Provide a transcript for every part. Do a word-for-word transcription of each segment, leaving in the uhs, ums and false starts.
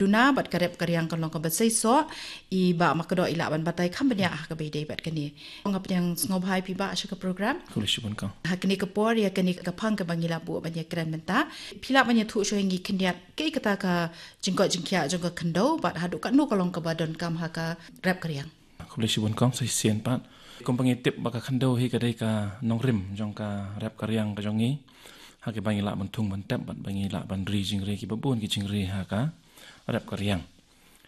duna bad ka rep ka riang ka long kaba seisoh. I Bah Makdoh i lah ban batai kham bniah ha kaba ïadei bad kane. Nga pdiang sngewbha ïa phi Bah sha ka program. Khublei shibun kong. Ha kane ka por ïa kane ka phang kaba ngi lah buh ban ïakren mynta, phi lah ban ïathuh shuwa ïa ngi khyndiat kaei kata ka jingkoit jingkhiah jong ka khyndew bad haduh katno ka long kaba donkam ha ka rep ka riang. Khublei shibun kong, sa shisien pat. Kumba ngi tip ba ka khyndew hi ka dei ka nongrim jong ka rep ka riang ka jong ngi. Ha kaba ngi lah ban thung ban tep bad ba ngi lah ban ri jingri kiba bun ki jingri ha ka rep ka riang.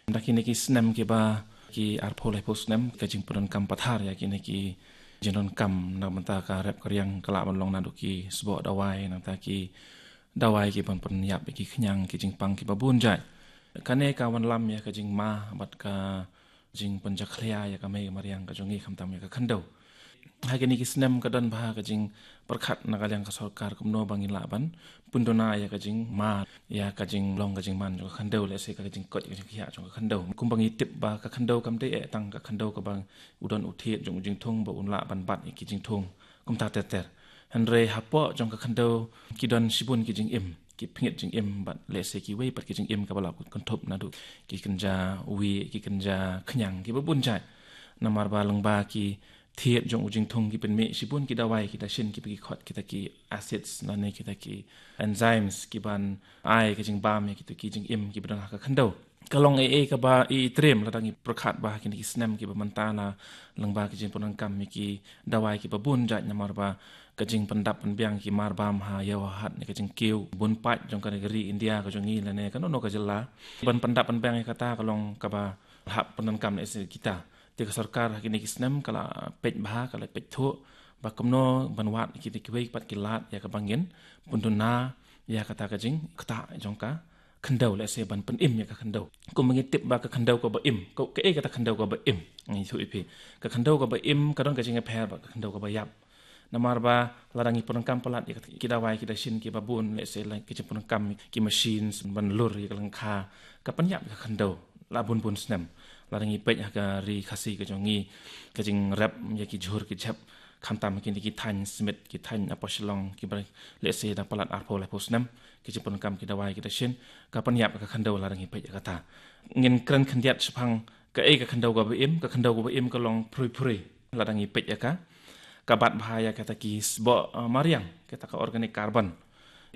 Da kine ki snem kiba ki arphew laiphew snem ka jingpyndonkam pathar ïa kine ki jingdonkam na bynta ka rep ka riang ka lah ban long naduh ki sboh dawai, nangta ki dawai ki ban pynïap ïa ki khñiang ki jingpang kiba bun jait. Kane ka wanlam ïa ka jingma bad ka jingpynjakhlia ïa ka mei ka mariang ka jong ngi khamtam ïa ka khyndew. Ha kine ki snem ka don bha ka jingpyrkhat na ka liang ka sorkar kumno ba ngin lah ban pynduna ïa ka jingma, ïa ka jinglong ka jingman jong ka khyndew, lehse ka jingkoit ka jingkhiah jong ka khyndew. Kumba ngi tip ba ka khyndew kam dei eh tang ka khyndew kaba u don u thied jong u jingthung ba un lah ban bat ïa ki jingthung kumta ter ter. Hynrei hapoh jong ka khyndew ki don shibun ki jingim, ki pynïap jingim bad lehse kiwei pat ki jingim kaba lah kynthup naduh ki kynja wieh, ki kynja khñiang kiba bun jait. Namar ba lyngba ki thied jong u jingthung ki pynmih shibun ki dawai ki dashin kiba ki khot kita ki acids lane kita ki enzymes ki ban ai ka jingbam ïa kita ki jingim kiba don ha ka khyndew. Ka long ei ei kaba i triem lada ngi pyrkhat ba ha kine ki snem kiba mynta la lyngba ki jingpyndonkam ïa ki dawai kiba bun jait namar ba ka jingpyndap pynbiang ki marbam ha ïew ha hat ne ka jingkiew bun paid jong ka ri India ka jong ngi lane kano kano ka jylla. Ban pyndap pynbiang ïa kata ka long kaba hap pyndonkam lehse kita. Te ka sorkar ha kine ki snem ka la peit bha, ka la peit thuh ba kumno ban wad ïa kita kiwei pat ki lad ïa kaba ngin pynduna ïa kata ka jingktah jong ka khyndew, lehse ban pynim ïa ka khyndew. Kumba ngi tip ba ka khyndew kaba im, ka, kaei kata khyndew kaba im? Ngi ïathuh ïa phi. Ka khyndew kaba im ka don ka jingïapher bad ka khyndew kaba ïap. Namar ba lada ngi pyndonkam palat ïa ki dawai ki dashin kiba bun, lehse la ki jingpyndonkam ki machines ban lur ïa ka lyngkha, ka pynïap ïa ka khyndew la bun bun snem. Lada ngi peit ha ka ri Khasi ka jong ngi, ka jingrep ïa ki jhur ki jhep, khamtam kine ki thaiñ Smit, ki thaiñ hapoh Shillong kiba lehse da palat arphew laiphew snem, ki jingpyndonkam ki dawai ki dashin, ka pynïap ïa ka khyndew lada ngi peit ïa kata. Ngin kren khyndiat shaphang kaei ka khyndew kaba im, ka khyndew kaba im ka long phri phri. Lada ngi peit ïa ka, ka bat bha ïa kata ki sboh, eh, mariang, kata ka organic carbon.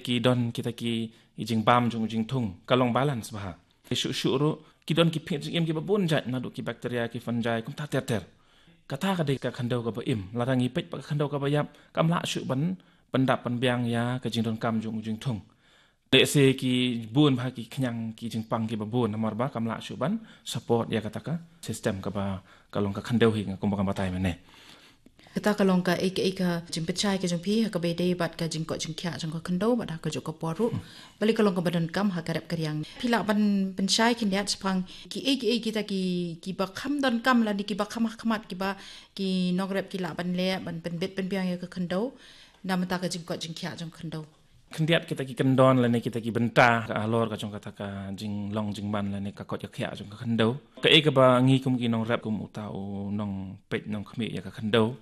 Ki don kita ki jingbam jong u jingthung, ka long balance bha. Shuh shuh ruh ki don ki pynïap jingim kiba bun jait naduh ki bacteria, ki fungi, kumta ter ter. Kata ka dei ka khyndew kaba im. Lada ngi peit pat ka khyndew kaba ïap, kam lah shuh ban pyndap pynbiang ïa ka jingdonkam jong u jingthung. Lehse ki bun bha ki khñiang ki jingpang kiba bun namar ba kam lah shuh ban support ïa kata ka system kaba ka long ka khyndew hi nga kumba nga batai mynne. Kata ka long kaei kaei ka jingpynshai ka jong phi ha kaba ïadei bad ka jingkoit jingkhiah jong ka khyndew bad ha kajuh ka por ruh. Balei ka long kaba donkam ha ka rep ka riang? Phi lah ban pynshai khyndiat shaphang kiei kiei kita ki, kiba kham donkam lane kiba kham hakhmat kiba ki nongrep ki lah ban leh ban pynbit pynbiang ïa ka khyndew na bynta ka jingkoit jingkhiah jong ka khyndew. Khyndiat kita ki kyndon lane kita ki bynta ka halor ka jong kata ka jinglong jingman lane ka koit ka khiah jong ka khyndew. Kaei kaba ngi kum ki nongrep, kum uta u nongpeit nongkhmih ïa ka khyndew,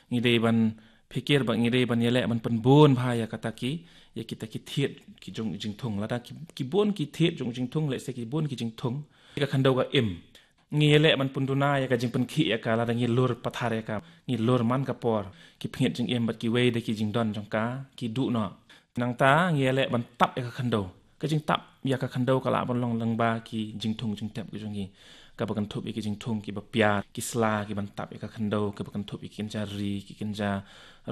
ngi dei ban pyrkhat ba ngi dei ban ïaleh ban pynbun bha ïa kata ki, ïa kita ki thied ki jong jingthung. Lada ki, ki bun ki thied jong jingthung, lehse ki bun ki jingthung, ka khyndew ka im. Ngi ïaleh ban pynduna ïa ka jingpynkhih ïa ka lada ngi lur pathar ïa ka, ngi lur man ka por. Ki pynïap jingim bad kiwei de ki jingdon jong ka ki duh noh. Nangta ngi ïaleh ban tap ïa ka khyndew. Ka jingtap ïa ka khyndew ka lah ban long lyngba ki jingthung jingtep ki jong ngi, kaba kynthup ïa ki jingthung kiba pia, ki sla ki ban tap ïa ka khyndew, kaba kynthup ïa ki kynja ri, ki kynja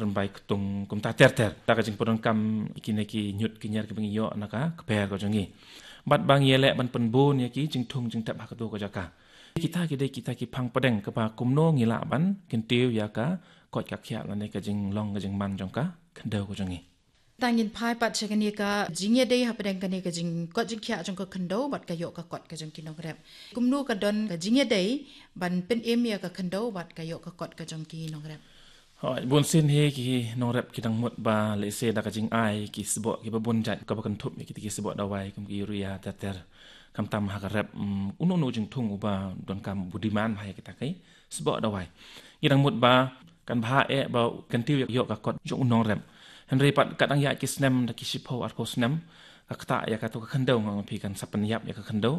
rymbai ktung, kumta ter ter. Da ka jingpyndonkam kine ki ñiut ki ñiar kiba ngi ïoh na ka kper ka jong ngi. Bad ba ngi ïaleh ban pynbun ïa ki jingthung jingtep ha kato ka jaka. Kita ki dei kita ki phang pdeng kaba kumno ngi lah ban kyntiew ïa ka koit ka khiah lane ka jinglong ka jingman jong ka khyndew ka jong ngi. Tang ngin phai pat sha kane ka jingïadei hapdeng kane ka jingkoit jingkhiah jong ka khyndew bad ka ïoh ka kot ka jong ki nongrep. Kumno ka don ka jingïadei ban pynim ïa ka khyndew bad ka ïoh ka kot ka jong ki nongrep? Hooid, bun sien hi ki nongrep ki dang mut ba lehse da ka jingai ki sboh kiba bun jait kaba kynthup ïa kita ki sboh dawai kum ki urea ter ter. Khamtam ha ka rep, mm, uno uno u jingthung uba donkam, uba demand ha ïa kita ki sboh dawai. Ngi dang mut ba kan bha eh ba kyntiew ïa ka kot jong u nongrep. Hynrei pat ka dang ïaid ki snem, da ki shiphew arphew snem, ka ktah ïa kato ka khyndew, nga ong phi kan sa pynïap ïa ka khyndew.